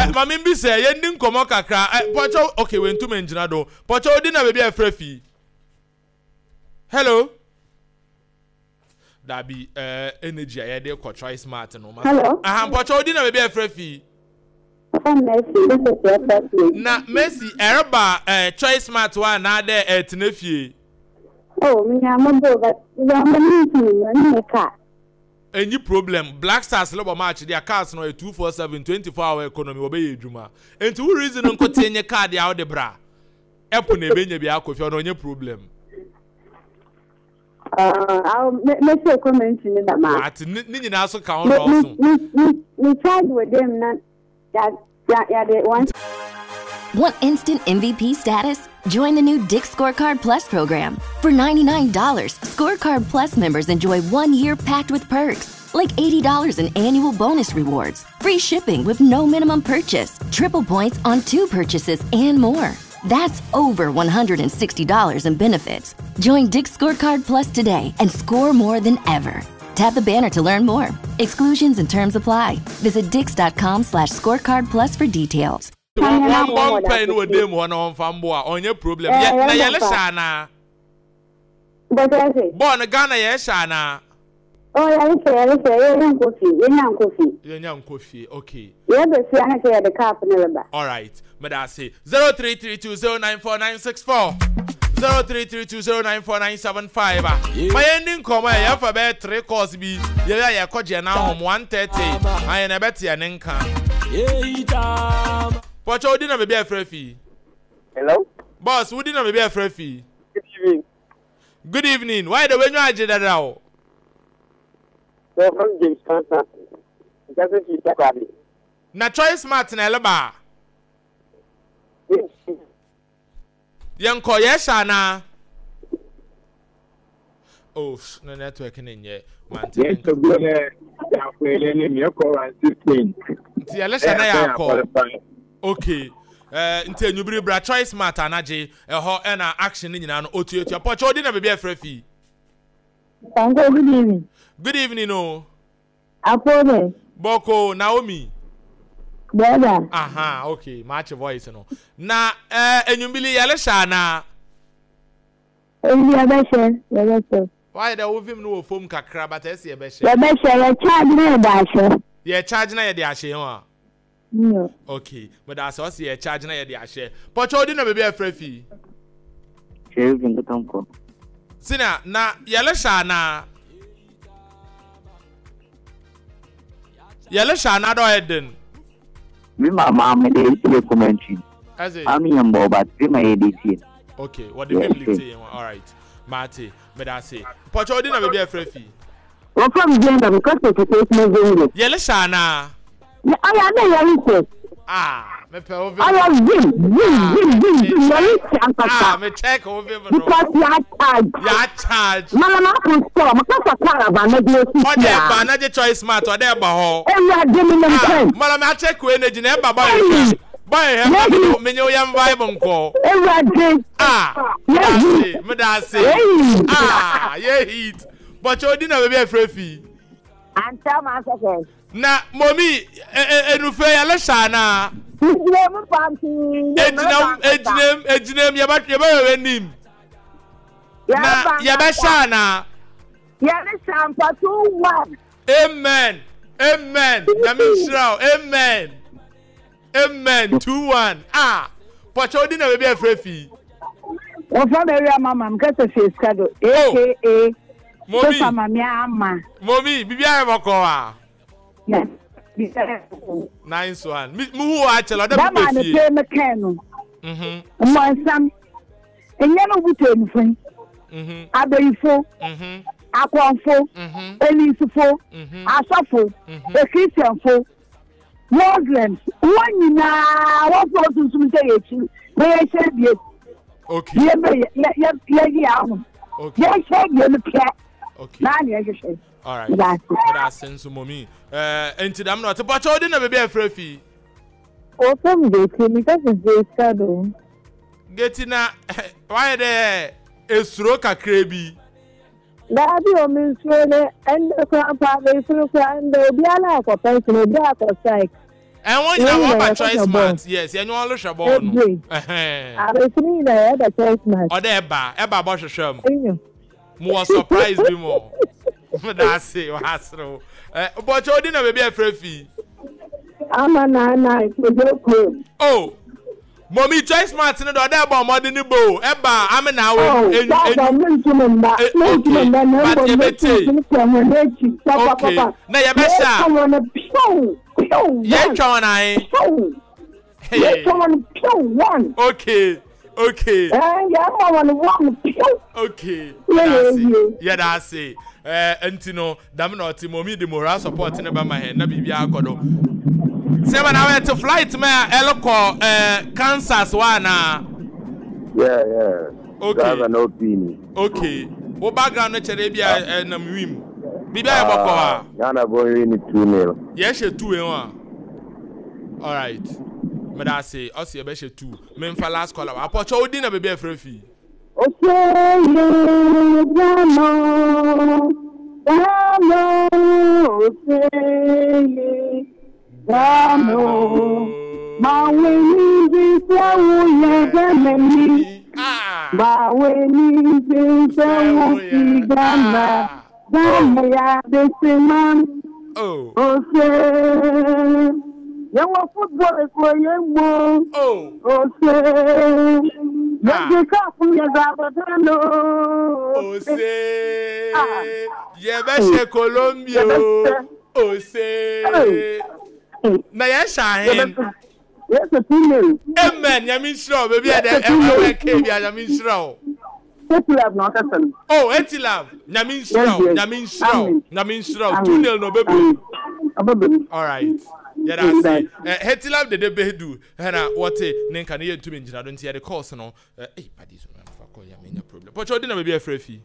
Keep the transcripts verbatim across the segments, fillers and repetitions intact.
Eh, maame bi sɛ yɛn di nkɔmɔ kakra. Eh, pɔtɔ, okay, wɛntumi ngyina do. Pɔtɔ, odi na baabi a ɛfrɛ fi. Hello. Dabi, eh, energy a yɛde kɔ Choice Smart no. Hello. Aha, pɔtɔ, odi na baabi a ɛfrɛ fi. Na Mercy, ɛreba eh, Choice Smart wa na adɛ ɛtena fie? Oh, me nyama bo, but me car. Any problem. Black Stars lebo match their cars no two four seven twenty-four hour economy obey adwuma. Enti wo reason nko tenye card ya wo de bra. Epo na ebe nya bi akofia no onye problem. Uh, I'll me say comment ni da ma. At ni nyina so ka on also. Me me charge with them na ya ya ya de one. Want instant M V P status? Join the new Dick's Scorecard Plus program. For ninety-nine dollars, Scorecard Plus members enjoy one year packed with perks, like eighty dollars in annual bonus rewards, free shipping with no minimum purchase, triple points on two purchases, and more. That's over one hundred sixty dollars in benefits. Join Dick's Scorecard Plus today and score more than ever. Tap the banner to learn more. Exclusions and terms apply. Visit dicks.com slash scorecard plus for details. One bomb pain with them, one on Famboa, on your problem. Yeah, Shana. Born a Ghana, yes, Shana. Oh, yeah, yeah, coffee, okay. Yeah, but see, I say the car for the All right, Madasi zero three three two zero nine four nine six four zero three three two zero nine four nine seven five. My ending come, I have a three calls be yeah, yeah, now one thirty. I am a better and Pocho, we didn't have a free. Hello? Boss, we didn't have a free. Good evening. Good evening. Why the way you are now? So from James Constant. Na Choice Smart na eleba. Yanko yes ana. Oh, no network in yet. Yes, so go there. Nti elesha na yakọ. Okay. Eh, nti enyubiri bra Choice Smart anaje eho e na action ni nyina no otuatua. Pocho odi na baby afra fi. Tango, good evening. Good evening o. Apone. Boko Naomi. Brother. Aha, okay. Match voice no. Na eh enyumbili yelesha na. Ebi yebeshe, yebeshe. Why the ovim no fom kakra but ese yebeshe. Yebeshe, ye charge na ye da ahye. Ye charge na ye de ahye ho a. No. Okay, but that's also ye charge na ye de ahye. Pocho odi na baby afra fi. Sheriff Nkotonko. Sina na yelesha na. Yelesha na do eden. Me mama me dey see commentary. I'm in but me my D C. Okay, what the people say, all right. Marty, me da say. Pocho odi na baby afra fi. Wo from gender because of the moving. Yelesha na. I am a Ah, me pe over. I am vim, vim, vim, vim, vim. Ah, me check over. Because you are charged. You are charged. Mama, I store. Because of caravan, I do. Oh, there, ba na je Choice Smart. Oh, there, ba ho. Eh, you are giving them ten. Mama, I check we energy. Ne ba ba. Boy, eh, me nyo yam vibe nko. Eh, you are doing. Ah, me me da say. Ah, yeah heat. But you didn't have a free. And tell my second. Na mommy enufe yelesha na. Ejinam ejinam ejinam yaba yaba wenim. Na yaba sha na. Yelesha mpa two one. Amen. Amen. Na me shira. Amen. Amen. two one. Ah. Pocho odi na baby afrefi. Wo fa me wi mama m kese fi skado aka Mommy. Mama ama. Mommy, bibia e boko wa. Nice one. Me who actually that man pay me can. Mhm. Mo Enye no butu enufin. Mhm. Abayifo. Mhm. Akonfo. Mhm. Elisifo. Mhm. Asafo. Mhm. Ekristianfo. Muslims. Won nyina wo fo sunsun te yechi. Be ye hye bie. Okay. Ye be ye ye ye ye ahun. Okay. Ye hye bie no pia. Okay. Na na ye hye. All right. That's sense mommy. Eh, enti dam no te pacho odi na baby afra fi. O fam geti mi ka se je. Geti na why there esuro kakra bi. Dabi o mi suro ne ende kra pa be suro kra ende obi ala akọ pension obi akọ strike. And one you have Choice Smart. Yes, you know all ball no. Eh. Abesini na ya ba Choice Smart. Ode eba, eba bo hwehwem. Mo surprise bi mo. That's it, hasro. Eh, but you na baby afrefi. Ama na na ko. Oh. Mommy Choice Smart no do ode ba mo de ni bo. Eba ame na we enyu enyu. But you beti. Okay. Na ye be sha. Yeah, try one. Yeah, one, one. Okay, okay. Yeah, one, one. Okay. Yeah, that's it. Eh, Antino, damn mommy, the moral support in about my head. Nabi Akodo. Seven hour to flight, me, Eloko, eh, Kansas, one. Yeah, yeah. Okay. Drive an opinion. Okay. What background, Arabia, and Wim? Bibi Abokoa. Ghana boy win two nil. Yes, two and one. All right. But say, us here be two. Me for last caller. Apocho odi na baby afrefi. Okay, Ghana. Ghana, okay, Ghana. Ma we ni bi se wo ye Ghana. Ma we ni bi se wo ki Ghana. Ghana ya man. Oh. Okay. You want football is where you want. Oh. Okay. You can't from your Zabadano. Ose. Yeah, beshe Colombia. Ose. Na ya shahin. Yes, a two. Amen. Ya min sure baby. I M K ya min sure. Etilab na ọkasa. Oh, Etilab. Nyame nhyira wo. Nyame nhyira wo. Nyame nhyira wo. two nil no baby. All right. Yeah, that's it. Eh, Etilab de de bedu. Na what ne nka ne yentumi ngyina do nti ye de course no. Eh, padi so fa call ya menya problem. Pocho odi na baby afrefi.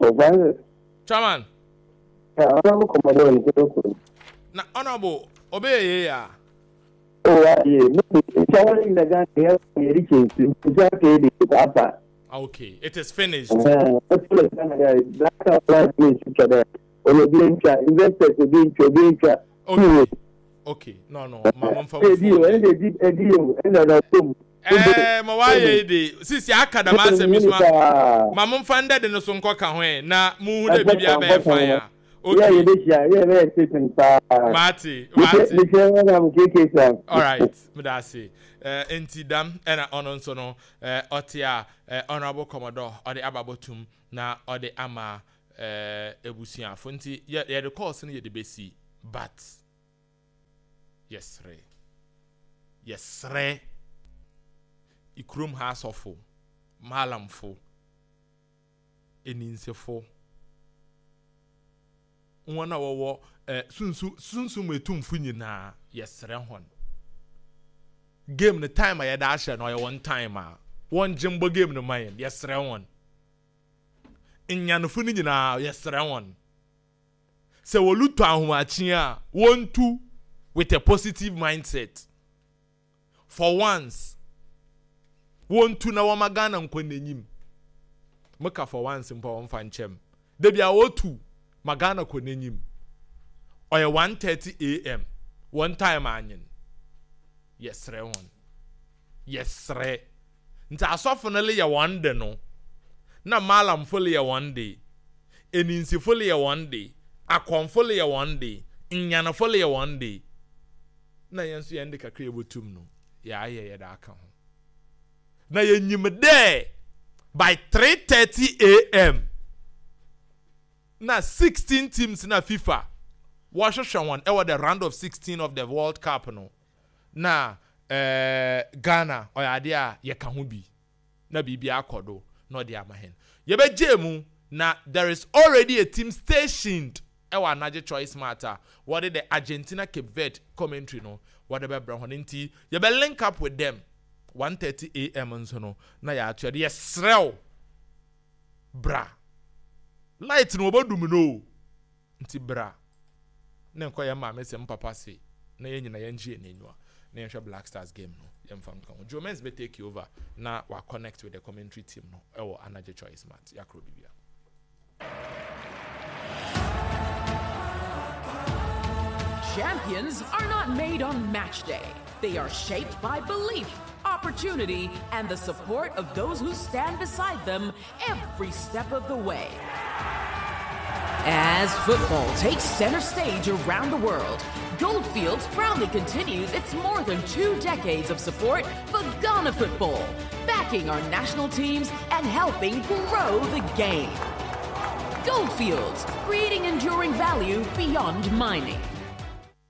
Oh, Chairman. Eh, honorable Commodore ni. Na honorable obey ye ya. Oh, yeah. No, chairman na ga ya ri chinsi. Ja ke di papa. Okay, it is finished. Okay. Okay. No, no. Eh, ma why dey? Sisi aka da ma se mi so. Ma mo fa ndede no so nkoka ho e na mu hu de bibia ba e fan ya. Okay. Mati, Mati. All right, medase. Eh enti dam e na ono nso no eh otia honorable Commodore ode ababotum na ode ama eh ebusuafo nti ye the course no ye de besi but yes re. Yes re. Ikrum ha asofo malamfo eninsefo wona wowo eh sunsu sunsu metumfo nyina yesre hon game no time a yeda ahye no ye one time a won jimbo game no man yesre hon nyanofo ni nyina yesre hon se woluto ahomachi a wontu with a positive mindset for once wontu na woma Ghana nkɔ n'enyim meka for once mpo won fa nchem de bia wotu Magana kɔ n'enyim ɔyɛ one thirty a m one time anyin yɛsrɛ wɔn yɛsrɛ nti asɔfo no le yɛ wɔn de no na malamfo le yɛ wɔn de eninsifo le yɛ wɔn de akɔmfo le yɛ wɔn de nyanafo le yɛ wɔn de na yɛn nso yɛn de kakra yɛbɛtum no yɛayɛ yɛde aka ho na yɛnyim dɛ by three thirty a m na sixteen teams na FIFA wɔhwehwɛ wɔn ɛwɔ the round of sixteen of the World Cup no na eh, Ghana ɔyɛ ade a yɛka ho bi na biribi akɔ do na ɔde ama hɛn yɛbɛgye mu na there is already a team stationed ɛwɔ Anagye Choice Smart a wɔde the Argentina Cape Verde commentary no wɔde bɛbrɛ hɔ nti yɛbɛ link up with them one thirty a m nso no na yɛato yɛde yɛsrɛw bra light no obodum no nti bra ne nkɔ yɛ maame sɛ mpapa se na yɛn nyina yɛn gye n'enyiwa na yɛn hwɛ Black Stars game no yɛn fa nka ho Joe Menz bɛ take over na wa connect with the commentary team no ɛwɔ Anagye Choice Smart yakro bibia. Champions are not made on match day. They are shaped by belief, opportunity, and the support of those who stand beside them every step of the way. As football takes center stage around the world, Goldfields proudly continues its more than two decades of support for Ghana football, backing our national teams and helping grow the game. Goldfields, creating enduring value beyond mining.